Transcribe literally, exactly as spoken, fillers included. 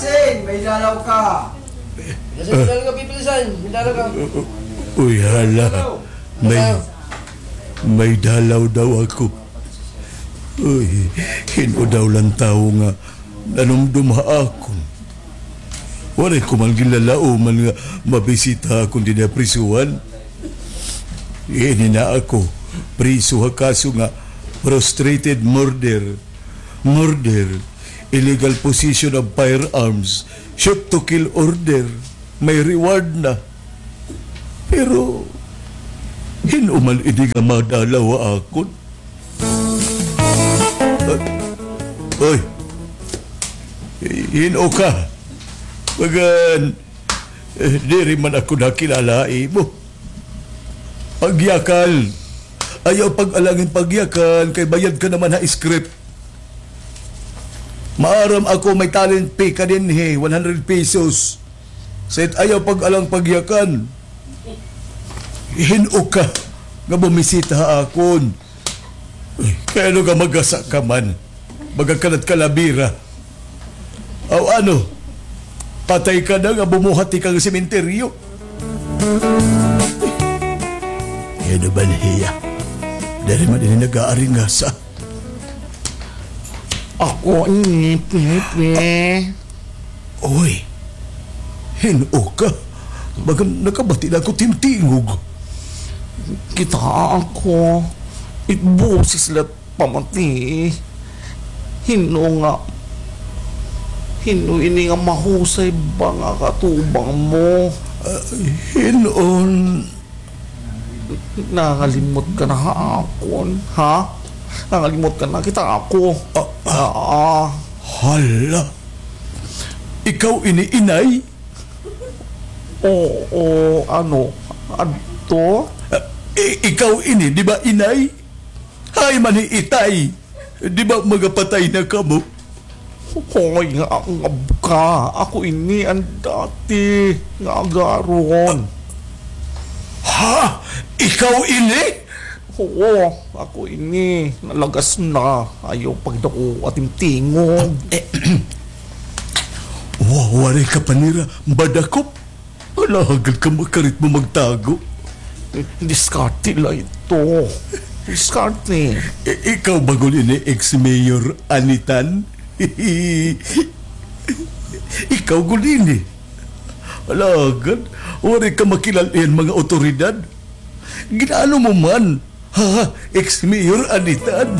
Sin, may dalaw ka. Pilisan, may dalaw ka, Pipilisan. May dalaw ka. Uy, hala. May, may dalaw daw ako. Uy, hin-o daw la an tawo nga nanumdom ha akon. Waray ko man ginlalauman nga mabisita ha akon dinhi ha prisuhan. Ini na ako, priso ha kaso nga frustrated murder. Murder, illegal possession of firearms, shoot to kill order, may reward na. Pero, hin-o man ini nga madalaw ha akon? Ah, oy, hin-o ka? Bagan, eh, diri man ako nakilala ha imo. Pagyakan. Ayaw pag-alang hin pagyakan, kay bayad ka naman ha script. Maaram ako may talent fee ka dinhi, one hundred pesos. Sait ayaw pag-alang pagyakan. Hin-o ka nga bumisita ha akon? Kay ano ka magasa ka man? Baga ka na't kalabira. Aw ano? Patay ka na nga bumuhat ka nga sementeryo. Ano ba niya? Diri man ini nag-aaringasa. Ako ini, Pepe. Uy, hin-o ka? Baga nakabati na ako tingog. Kita ako. It boses la pamati. Hin-o nga, hin-o ini nga mahusay ba nga katubang mo? Ah, hin-on. Nangalimot ka na ha akon, ha? Nangalimot ka na, kita ako. Ah, ah. Ah, ah. Hala. Ikaw ini, inay? Oo, ano, adto? Ah, i-, ikaw ini, di ba, inay? Hay man hi itay. Di ba magapatay na kamo? Hoy, nga, nga ka. Ako ini an dati nga agaron. Ha? Ikaw ini? Oo, ako ini. Nalagas na. Ayaw pagdako ating tingog. Eh, wa-, waray ka pa nira madakop. Alagad ka makarit mo magtago. Diskarte la ito. Diskarte. I-, ikaw ba gud ini, ex-mayor Anitan? Ikaw gud ini. Alagad, waray ka makilal-an mga awtoridad. Ginaano mo man? Ha, ex-mayor Anitan.